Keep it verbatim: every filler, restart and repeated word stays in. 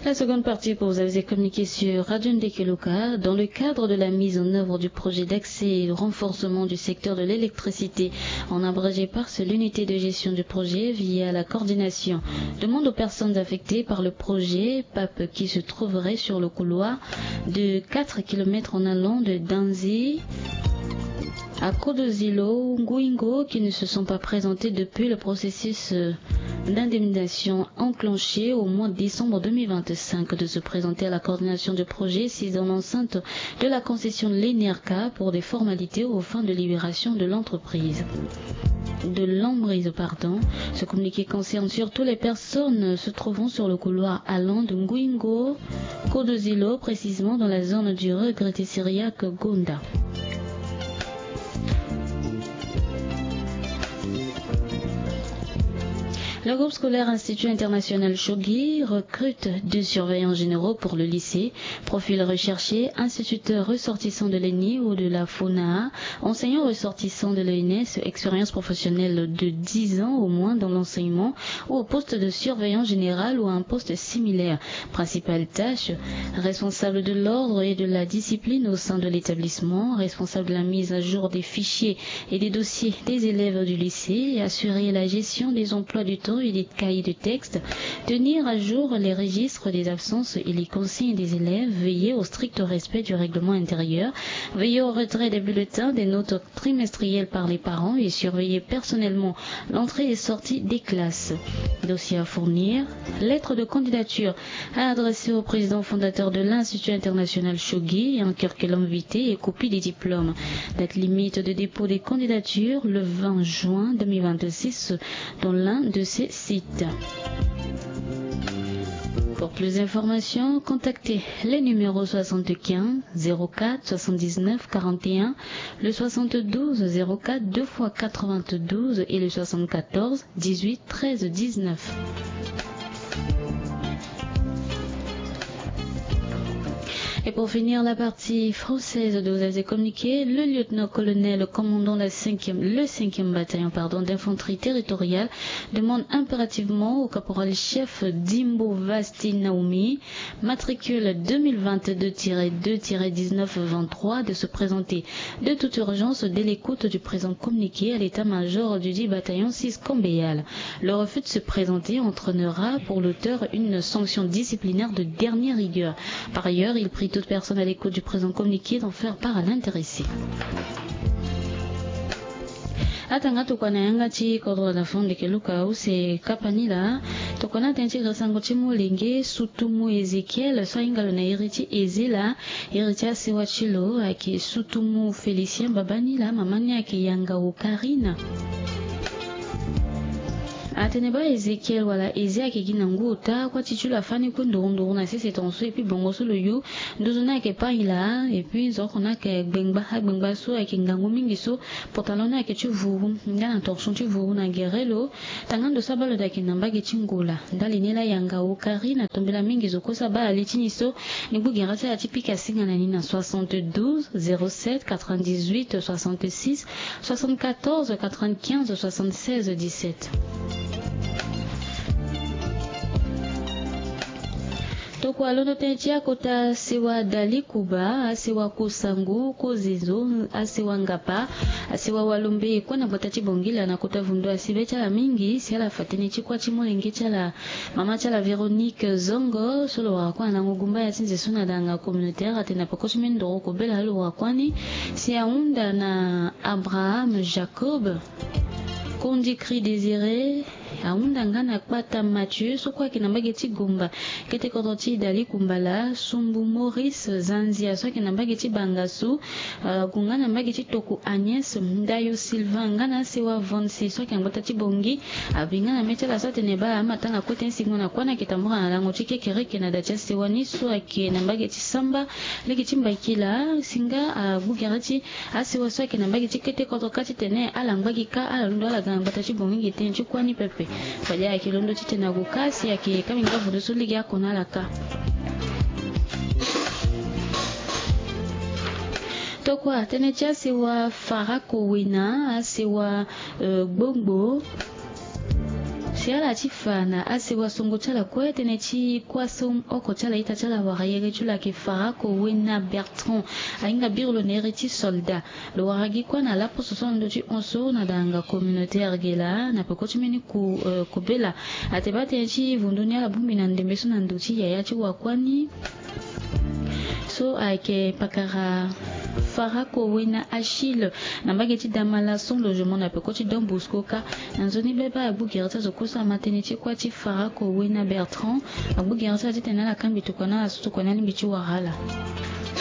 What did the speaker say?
La seconde partie pour vous avez communiqué sur Radio Ndekeluka dans le cadre de la mise en œuvre du projet d'accès et de renforcement du secteur de l'électricité, en abrégé PARS, l'unité de gestion du projet via la coordination demande aux personnes affectées par le projet PAP qui se trouverait sur le couloir de quatre kilomètres en allant de Danzi à Kodozilo, Nguingo, qui ne se sont pas présentés depuis le processus euh, d'indemnisation enclenché au mois de décembre deux mille vingt-cinq de se présenter à la coordination de projet six dans l'enceinte de la concession de l'ENERCA pour des formalités aux fins de libération de l'entreprise. De l'emprise, pardon. Ce communiqué concerne surtout les personnes se trouvant sur le couloir allant de Nguingo, Kodozilo, précisément dans la zone du regretté syriaque Gonda. Le groupe scolaire Institut International Shogi recrute deux surveillants généraux pour le lycée. Profil recherché, instituteur ressortissant de l'ENI ou de la FONA, enseignant ressortissant de l'ENS, expérience professionnelle de dix ans au moins dans l'enseignement ou au poste de surveillant général ou à un poste similaire. Principale tâche, responsable de l'ordre et de la discipline au sein de l'établissement, responsable de la mise à jour des fichiers et des dossiers des élèves du lycée, assurer la gestion des emplois du temps et des cahiers de texte, tenir à jour les registres des absences et les consignes des élèves, veiller au strict respect du règlement intérieur, veiller au retrait des bulletins, des notes trimestrielles par les parents et surveiller personnellement l'entrée et sortie des classes. Dossier à fournir, lettre de candidature à adresser au président fondateur de l'Institut international Shogi, un curriculum vitae et copie des diplômes. Date limite de dépôt des candidatures, le vingt juin deux mille vingt-six, dans l'un de ces sites. Pour plus d'informations, contactez les numéros soixante-quinze zéro quatre soixante-dix-neuf quarante et un, le soixante-douze zéro quatre deux fois quatre-vingt-douze et le soixante-quatorze dix-huit treize dix-neuf. Et pour finir la partie française de Vous avez communiqué, le lieutenant-colonel commandant la cinquième, le cinquième bataillon, pardon, d'infanterie territoriale demande impérativement au caporal-chef Dimbo Vasti Naomi, matricule deux mille vingt-deux tiret deux tiret dix-neuf vingt-trois, de se présenter de toute urgence dès l'écoute du présent communiqué à l'état-major du dix bataillon six Kambeyala. Le refus de se présenter entraînera pour l'auteur une sanction disciplinaire de dernière rigueur. Par ailleurs, il prie toute personne à l'écoute du présent communiqué d'en faire part à l'intéressé. Atanga tokua na yanga ti kodro na fo ndeke luka use kapa ni laa. Tokua na tënë ti gere sango ti molenge sutumu Ezekiel so ahinga lo na iri ti Ezela. Iri ti asewa ti lo ayeke sutumu Félicien, babâ ni laa mama ni ayeke yanga Okarina. Atene bâ Ezekiel wala Eze ayeke gi na ngu ota, kuâ ti ti lo afâ ni kue nduru nduru na sese tongaso, epui bongo so lo yu nduzu ni ayeke paï laa, epui nzoko ni ayeke gbengba, agbengba so ayeke ngangu mingi so pantalon ni ayeke ti vuru, nda na torchon ti vuru na gere lo. Tanga ndo so abâ lo daa ayeke na mbage ti ngola. Ndali ni laa yanga Okari na tombela mingi zo kue so abâ ali ti ni so. Ni gbu gere ti ala ti pika singa na ni na soixante-douze zéro sept quatre-vingt-dix-huit soixante-six soixante-quatorze quatre-vingt-quinze soixante-seize dix-sept. Tokua londo tënë ti akota sewa Dali Kuba, asewa Kosangu, Kozezo, asewa Ngapa, asewa Walombe, kue na gbata ti Bangila na kota Vundu asi be ti ala mingi, si ala fa tënë ti kuâ ti molenge ti ala, mama ti ala Véronique Zongo, so lo wara kue na lango gumba ya ti nze so na danga communautaire, atene na peko ti mbeni ndoro kobela lo wara kuâ ni, si ahunda na Abraham Jacob, Kondikri Désiré, ahunda nga na Kpata Mathieu, so kue ayeke na mbage ti Gomba, kete kodro ti Dali Kumbala, Sumbu Maurice Zanzia, so ayeke na mbage ti Bangasu, ah, agu nga na mbage ti Toku Agnès, Ndayo Sylvain, nga na asewa Vonsi, so ayeke na gbata ti Bongi, abi nga na mê ti ala so atene bâ amatanga kue tënë singo na kuâ ni ayeke tambula na lango ti kekereke na da ti asewa ni so ayeke na mbage ti Samba, lege ti Mbakila, si nga, ah, agbu gere ti asewa so ayeke na mbage ti kete kodro kâ titene ala ngba gi kâ, ala londo ala ga na gbata ti Bongi gi tënë ti kuâ ni pepe. Fade ayeke londo titene ague kâ si ayeke kâ mingi bâ vodo so lege ako na ala kâ. Tokua tënë ti asewa Farako Wena, asewa, euh, Gbongbo. Ti ala ti fa na asewa songo ti ala kue tënë ti kuâ so oko ti ala ita ti ala wara yere ti lo ayeke Farako Wena Bertrand. Ahinga biri lo na iri ti soldat. Lo wara gi kuâ na laposo so na ndö ti hon so na danga communautaire ge laa na peko ti mbeni ku, eh, kobela. Ate baa tënë ti vundu ni ala bongbi na ndembe so na ndö ti yaya ti wakuâ ni. So ayeke pakara Farako Wena Achille na mbage ti Damala sans logement na peko ti Don Bosco kâ. Na nzoni baba agbu gere ti azo kue so ama tënë ti kuâ ti Farako Wena Bertrand. Agbu gere ti ala titene ala kangbi tokua na ala so tokua ni alingbi ti wara ala.